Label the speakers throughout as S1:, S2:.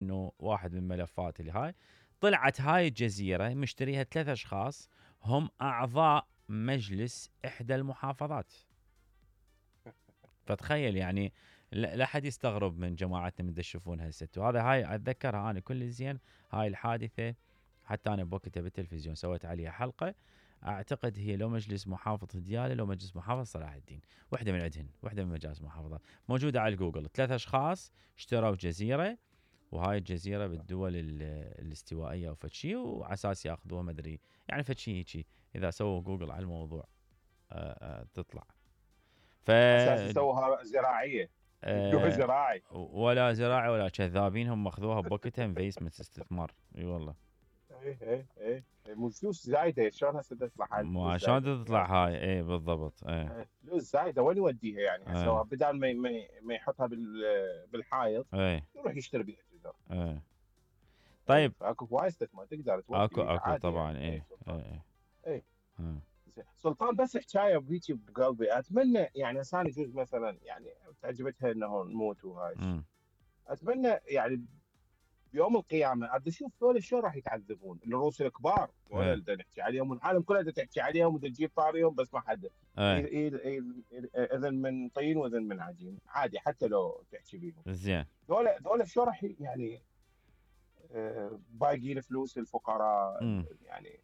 S1: انه واحد من الملفات اللي هاي طلعت هاي الجزيره مشتريها 3 اشخاص هم اعضاء مجلس احدى المحافظات. فتخيل يعني لا حد يستغرب من جماعتنا من تشوفون هالست. وهذا هاي اتذكرها انا كل زين هاي الحادثه، حتى انا بوقتها بالتلفزيون سويت عليها حلقه. اعتقد هي لو مجلس محافظه دياله لو مجلس محافظه صلاح الدين، وحده من عندهن، وحده من مجالس المحافظات موجوده على جوجل. 3 اشخاص اشتروا جزيره، وهاي الجزيره بالدول الاستوائيه او فشي، وعلى اساس ياخذوها ما ادري يعني فشي هيجي. اذا سووا جوجل على الموضوع تطلع.
S2: اساس يسووها زراعيه يبدوها زراعي
S1: ولا زراعي ولا كذابين، هم اخذوها بوقتها انفستمنت استثمار. اي والله.
S2: اي مو فلوس زايده، شلون هسه تطلع هاي
S1: ما شلون تطلع هاي. اي بالضبط.
S2: فلوس زايده وين يوديها يعني؟ هسه بدال ما يحطها بالحائط يروح يشتري بيها جزر.
S1: طيب
S2: اكو هواي استثمار تقدر تودي
S1: اكو طبعا.
S2: يعني. اي سلطان بس حكايه بهيجي بقلبي، اتمنى يعني انسان يجوز مثلا يعني تعجبتها انه نموت وهاي. اتمنى يعني بيوم القيامه عاد اشوف ذول شلون راح يتعذبون الروس الكبار ولا اللي نحكي عليهم والعالم كله تحكي عليهم وتجيب طاريهم بس ما حد اذن من طين واذن من عجين عادي حتى لو تحكي بيهم.
S1: زين
S2: ذول شلون راح يعني باقيين فلوس الفقراء يعني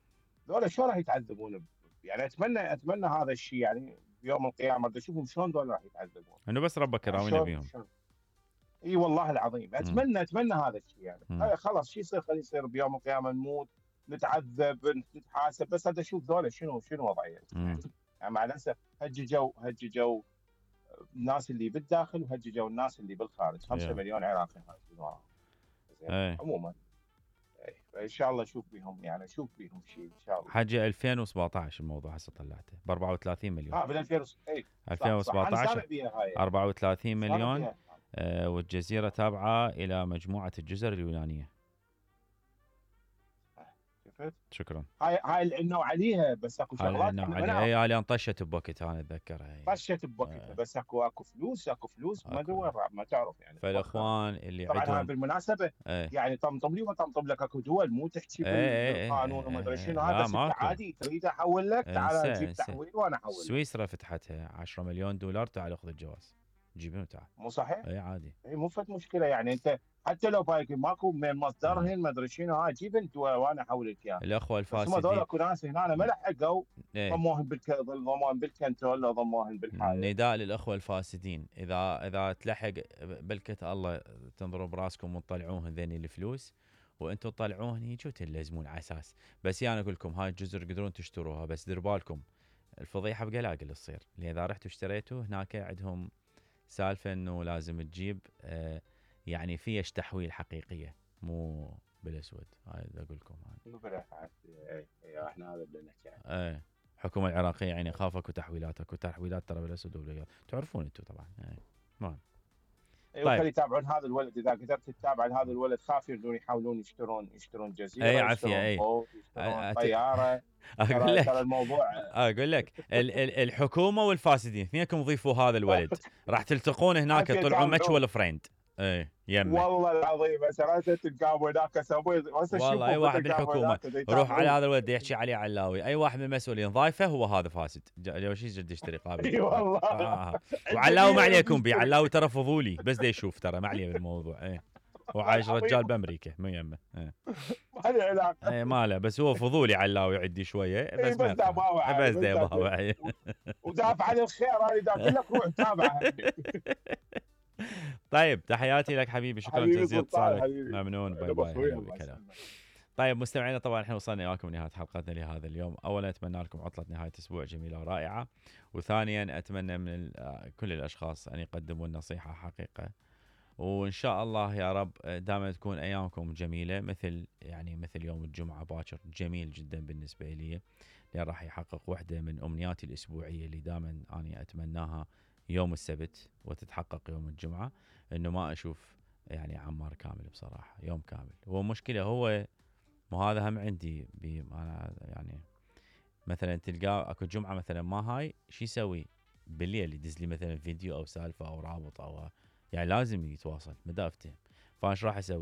S2: ذول شلون راح يتعذبون يعني. اتمنى هذا الشيء يعني بيوم القيامه بدي اشوفهم شلون ذول راح يتعذبون.
S1: انه بس ربك يراوينا بيهم.
S2: اي والله العظيم اتمنى هذا الشيء يعني. خلاص شو يصير خليه يصير بيوم القيامه نموت نتعذب نتحاسب، بس هذا اشوف ذولا شنو وضعيتهم يعني مع الاسف هججوا الناس اللي بالداخل وهججوا الناس اللي بالخارج. 5 مليون عراقي هاي عموما. ان شاء الله اشوف بيهم شيء ان شاء الله.
S1: حاجه 2017 الموضوع هسه طلعته ب 34 مليون.
S2: بال
S1: 2017 34 مليون. والجزيره تابعه الى مجموعه الجزر اليونانيه. شكرا.
S2: هاي العنوا عليها بس اكو شغلات
S1: هاي انطشت بوقتها انا اتذكرها.
S2: طشت بوقتها بس اكو فلوس ما دور ما تعرف يعني.
S1: فالاخوان اللي
S2: طبعا
S1: عندهم
S2: هاي بالمناسبه يعني طمطم لي وطمطم لك اكو دول مو تحكي بالقانون وما ادري شنو هذا بس عادي تريد احول لك تعال جيب تحويل وانا احول.
S1: سويسرا فتحتها 10 مليون دولار تعال خذ الجواز جيبهم تعال.
S2: مو صحيح؟
S1: اي عادي.
S2: اي مو فت مشكله يعني انت حتى لو بايك ماكو من مصدرهن ما ادري شنو هاي جيب انت وانا احول لك اياه.
S1: الاخوه الفاسدين
S2: بس هم هذول اكو ناس هنا ما لحقوا ضموهم بالكنترول ضموهم بالحاله.
S1: نداء للاخوه الفاسدين اذا تلحق بلكت الله تنظروا براسكم وتطلعوهن ذني الفلوس وانتم تطلعوهن هيك وتلزمون على اساس. بس انا اقول لكم هاي الجزر تقدرون تشتروها بس دير بالكم الفضيحه بقلاقل تصير. لان اذا رحتوا اشتريتوا هناك عندهم سالفه انه لازم تجيب يعني فيش تحويل حقيقيه مو بالاسود. هاي اقول لكم
S2: احنا هذا اللي نحكي عنه.
S1: الحكومه العراقيه يعني خافك وتحويلاتك وتحويلات ترى بالاسود والابيض تعرفون انتم طبعا. المهم
S2: طيب خلي يتابعون هذا الولد. اذا قدرت تتابع هذا الولد خاف يحاولون يشترون جزيره يشترون طياره.
S1: اقول لك
S2: ترى الموضوع
S1: اقول لك الحكومه والفاسدين اثنينكم ضيفوا هذا الولد راح تلتقون هناك تطلعون ماتشول فريند. يمه
S2: والله العظيم سرعه تلقاهم هناك سوي
S1: والله اي واحد بالحكومه روح على هذا الولد يحكي عليه علاوي اي واحد من المسؤولين ضايفه هو هذا فاسد اول شيء جد يشتري قابل.
S2: اي والله
S1: وعلاوي ما عليكم بي علاوي ترى فضولي بس دا يشوف ترى ما عليه بالموضوع. وعايش رجال بامريكا مو يمه.
S2: ما له علاقه
S1: ما له بس هو فضولي علاوي عدي شويه بس
S2: بس دا
S1: يباوع
S2: ودافع عن الخير انا دا اقول لك روح تابعه.
S1: طيب تحياتي لك حبيبي شكرا جزيلا اتصالك ممنون باي باي. طيب مستمعينا طبعا احنا وصلنا وياكم لنهايه حلقتنا لهذا اليوم. اولا اتمنى لكم عطله نهايه اسبوع جميله ورائعه. وثانيا اتمنى من كل الاشخاص ان يقدموا النصيحه حقيقه. وان شاء الله يا رب دائما تكون ايامكم جميله مثل يوم الجمعه باكر جميل جدا بالنسبه لي لان راح يحقق واحده من امنياتي الاسبوعيه اللي دائما اني اتمناها يوم السبت وتتحقق يوم الجمعه انه ما اشوف عمار كامل بصراحه يوم كامل. هو مشكله هو مو هذا هم عندي انا مثلا تلقاه اكو جمعه مثلا ما هاي شو يسوي بالليل يدز لي مثلا فيديو او سالفه او رابط او لازم يتواصل مدافته. فايش راح اسوي